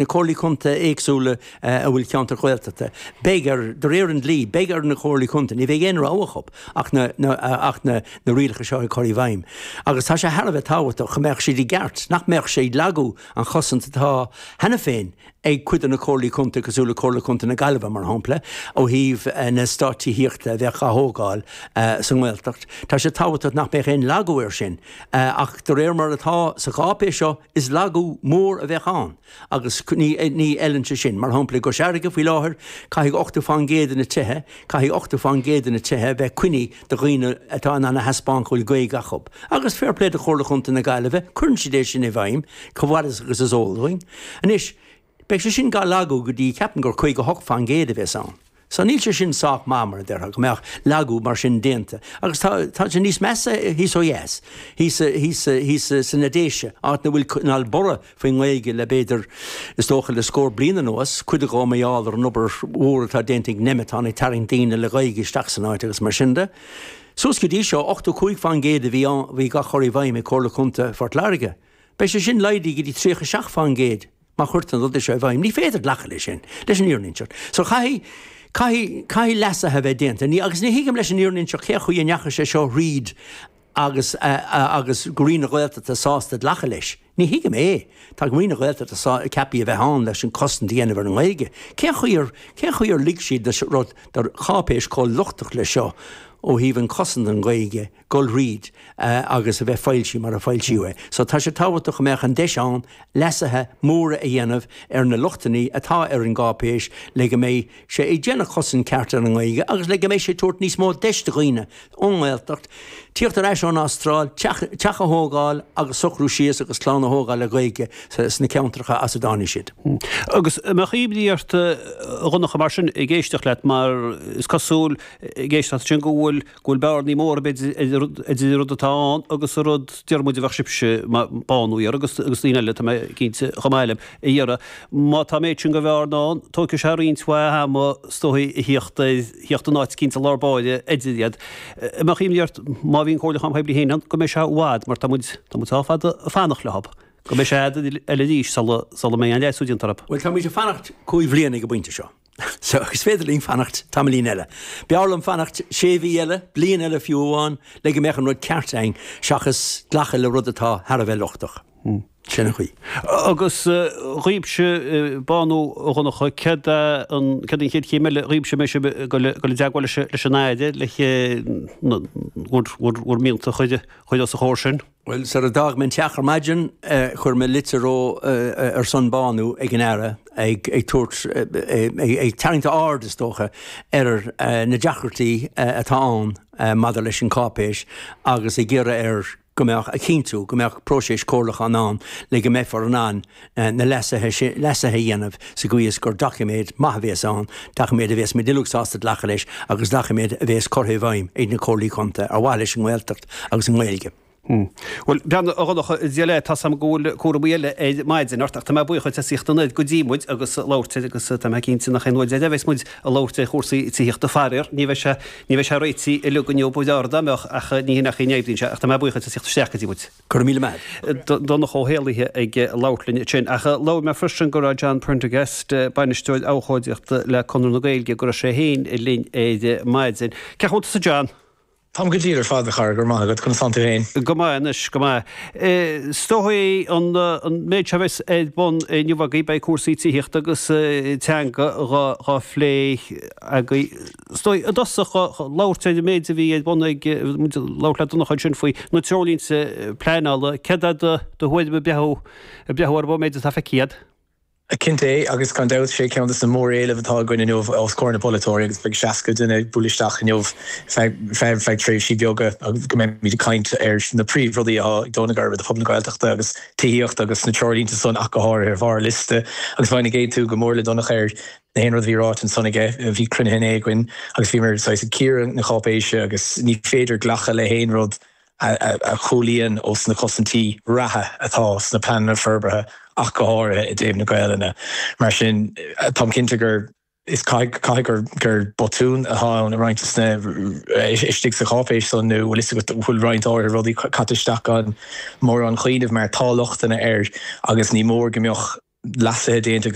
Na comhairlí contae éagsúla a bhfuil ceantair Ghaeltachta, beidh ar, de réir an dlí, beidh ar na comhairlí contae, ní bheidh aon rogha acu ach na, na, ach na, na rialacha seo a chur i bhfeidhm. Agus tá sé thar a bheith tábhachtach go mbeadh siad i gceart, nach mbeadh sé ag lagú an chosaint atá cheana féin ag cuid de na comhairlí contae cosúil le Comhairle Contae na Gaillimhe, mar shampla, ó thaobh na eastáit tithíochta a bheadh á thógáil sa nGaeltacht. Tá sé tábhachtach nach mbeadh aon lagú air sin. Ach de réir mar atá sa cháipéis seo, Is lagú mór a bheadh ann agus ní fheileann sé sin. Mar shampla, i gCois Fharraige faoi láthair, caithfidh 80% de na tithe, caithfidh 80% de na tithe a bheith coinnithe do dhaoine atá in ann a thaispeáint go bhfuil Gaeilge acu. Agus fair play do Chomhairle Chontae na Gaillimhe, cuireann siad é sin i bhfeidhm, chomh fada agus is eol dúinn. Anois, beidh sé sin dhá lagú go dtí, ceapaim gur 58% a bheas ann. So níl sé sin sách maith, mar a déarfá, go mbeadh lagú mar sin déanta. Agus tá, tá sé níos measa thíos ó dheas, thíos, thíos, thíos sna Déise, áit 'na bhfuil, 'na bhfuil borradh faoin nGaeilge le b'fhéidir, is dócha le scór bliain anuas, cuid de mar gheall ar an obair mhór atá déanta ag Nemeton ag tarraingt daoine le Gaeilge isteach san áit agus mar sin de. Suas go dtí seo, 85% a bhí ann, a bhí dhá chur i bhfeidhm ag Comhairle Contae Phort Láirge. Beidh sé sin laghdaithe go dtí 37%. Má chuirtear an rud seo i bhfeidhm, ní féidir glacadh leis sin, leis an fhírinne a inseacht. So caithfidh, caithfidh, caithfidh leasuithe a bheith déanta. Ní, agus ní thuigim leis an fhírinne a inseacht cén chaoi a ndeachaigh sé seo thríd agus, agus go Roinn na Gaeltachta sásta glacadh leis. Ní thuigim é. Tá Roinn na Gaeltachta sá, ceaptha a bheith ann leis an cosaint a dhéanamh ar an nGaeilge. Cén chaoi ar, cén chaoi ar lig siad do rud, do cháipéis chomh lochtach leis seo ó thaobh an cosaint don Ghaeilge, dul thríd agus a bheith foilsithe mar a foilsíodh é. So tá sé tábhachtach go mbeadh an deis ann leasuithe móra a dhéanamh ar na lochtanna atá ar an gcáipéis le go mbeidh sé ag déanamh cosaint ceart ar an nGaeilge agus le go mbeidh sé ag tabhairt níos mó deis do dhaoine ón nGaeltacht tíocht ar ais ón Astráil, teach a thógáil agus socrú síos agus clann a thógáil le Gaeilge sna ceantracha as a dtáinig siad. Agus an mbeadh imní ort a Dhonncha mar sin ag éisteacht leat mar is cosúil ag éisteacht sin go bhfuil go bhfuil bearnaí móra b'fhéidir idir an rud atá ann agus an rud deir muid a bheadh sibhse, Bánú a iarraidh agus daoine eile, tá mé cinnte, chomh maith libh, a iarraidh. Má tá an méid sin de bhearna ann, tógfaidh sé roinnt mhaith ama is dóigh a thíocht ar, thíocht in áit eicínt i lár báire idir iad. An mbeadh imní ort má bhíonn comhairliúchán poiblí féin ann go mbeidh sé i bhfad mar tá muid, tá muid sách fada ag fanacht leo, go mbeidh sé fhad eile arís sula, sula mbeidh aon leasú déanta orthu. Bhuel, táimid ag fanacht cúig bhliana ag an bpointe seo. So, is féidir linn fanacht tamaillín eile. B'fhearr liom fanacht sé mhí eile, bliain eile fiú amháin, le go mbeadh an rud ceart againn, seachas glacadh le rud atá thar a bheith lochtach. Sin an chaoi. Agus dhaoibhse, Bánú, a Dhonncha, céard é an, céard an chéad chéim eile dhaoibhse, an mbeidh sibh ag dul i dteagmháil leis an Aire, le bhur, bhur, bhur mianta a chur os a chomhair sin? Bhuel, sar a d'fhág mé an teach ar maidin, chuir mé litir ó ar son Bánú ag an Aire ag tabhairt, ag tarraingt a aird, is dócha, ar na deacrachtaí atá ann maidir leis an cháipéis agus ag iarraidh air go mbeadh, a chinntiú go mbeadh próiseas comhairliúcháin ann le go mbeifear in ann na leasuithe leasuithe a dhéanamh sa gcaoi is gur doiciméad maith a bhéas ann, doiciméad a bhéas muid uilig sásta glacadh leis agus doiciméad a bhéas curtha i bhfeidhm ag na Comhairlí Contae ar mhaithe leis an nGaeltacht agus an Ghaeilge. Bhuel, breathnaigh, a Dhonncha, Dia leat, tá 's a'm go bhfuil cúramaí eile ar maidin ort ach tá mé buíoch duit as thíocht anoir go dtí muid agus labhairt air agus tá mé cinnte nach aon uair deiridh a bheas muid ag labhairt ar chúrsaí tithíochta faraor. Ní bheidh sé, ní bheidh sé réitithe uilig inniu, ba bhreá dá mbeadh ach ní hin é an chaoi a n-oibríonn sé ach tá mé buíoch duit as thíocht isteach go dtí muid. Go raibh míle maith agat. Donncha Ó hÉallaithe ag labhairt linn ansin. Ach labhair mé freisin go raibh John Prendergast, Bainisteoir Abhcóideachta le Conradh na Gaeilge, go raibh sé féin linn ar maidin. Cén chaoi a bhfuil tusa John? Táim go diail ar fad, a chara, go raibh maith agat. Conas tánn tú féin? Go maith anois, go maith. Is dóigh an méid seo a bheas ar bun inniu agaibh, beidh cúrsaí tithíochta agus teanga dhá phlé agaibh. Is dóigh, i dtosach, labhairt ar an méid a bhí ar bun ag, muid ag labhairt le Donncha ansin faoi na treoirlínte pleanála, céard é do thuairim ag breathú, ag breathú ar an méid atá feicthe agat? Cinnte, agus gan dabht, sé ceann de na móréilimh atá againn inniu os comhair na bpolaiteoirí agus beidh 60 duine ag bualadh isteach inniu feadh tréimhsí beaga agus go mbeimid ag caint ar na príomhrudaí atá ag dó na geirbe do phobal na Gaeltachta agus tithíocht agus na treoirlínte san ach go háirithe ar bharr an liosta agus bheinn ag aontú go mór le Donncha ar Na haon rud a bhí ráite ansan aige, bhí cruinnithe inné againn agus bhíomar saghas ag cíoradh na cáipéise agus ní féidir glacadh le haon rud a chúlaíonn ós na cosaintí reatha atá sna pleananna forbartha ach go háirithe i dtaobh na Gaelainne. Mar sin, táim cinnte gur is caithfidh gur gur botún atá ann i roinnt de na istigh sa cháipéis san nó bhfuil fhios agat bhfuil roinnt áirithe rudaí caite isteach gan mórán cuimhneamh mar tá lochtanna air agus ní mór go mbeadh. leasuithe déanta.